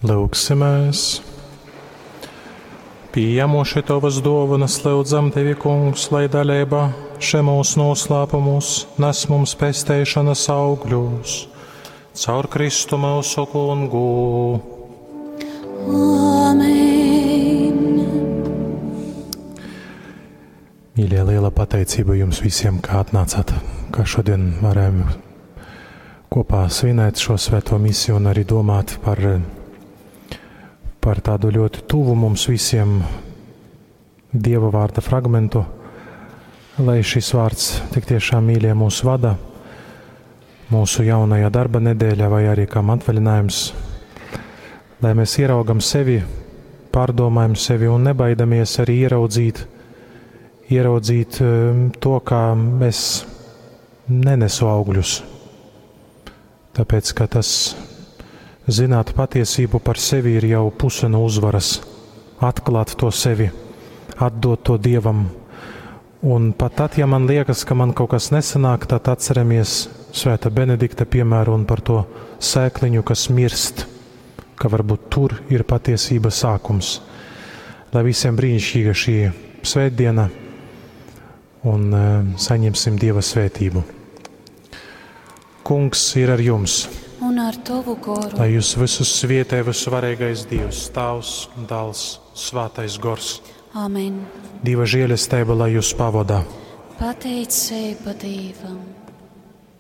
Lūgsimies! Pieņemoši Tavas dāvanas, lūdzam Tevi, Kungs, lai dalība šemos noslēpumos nes mums pesteišanas augļus. Caur Kristu mūsu kungu. Amen. Mīļie, liela pateicība jums visiem, kā atnācāt, ka šodien varējām kopā svinēt šo svēto misiju un arī domāt par par tādu ļoti tuvu mums visiem Dieva vārda fragmentu, lai šis vārds tik tiešām mīļie mūs vada mūsu jaunajā darba nedēļā vai arī kam atvaļinājums, lai mēs ieraugam sevi, pārdomājam sevi un nebaidamies arī ieraudzīt, ieraudzīt to, kā es nenesu augļus. Tāpēc, ka tas zināt patiesību par sevi ir jau puse no uzvaras. Atklāt to sevi, atdot to Dievam. Un pat tad, ja man liekas, ka man kaut kas nesanāk, tad atceramies Svēta Benedikta piemēru un par to sēkliņu, kas mirst, ka varbūt tur ir patiesība sākums. Lai visiem brīnišķīga šī svētdiena un saņemsim Dieva svētību. Kungs ir ar jums! Un ar tavu goru. Lai jūs visus svietē visvarīgais Dievs, Tēvs, Dēls, Svētais Gors. Amen. Dieva žēlastība, lai jūs pavadā. Pateicība Dievam.